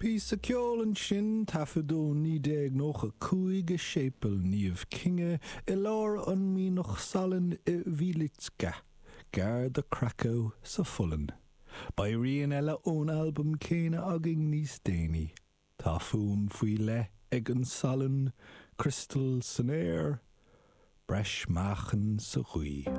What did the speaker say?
Píosa ceoil ansin, taifeadadh 1995 i Séipéal Naomh Kinga i lár an mianach salainn i Wieliczka, gar do Krakow sa Pholainn. Beidh rian eile ón albam céanna againn níos déanaí. Tá fuaim faoi leith ag an salann, criostail san aer, breis meáchain sa ghaoth.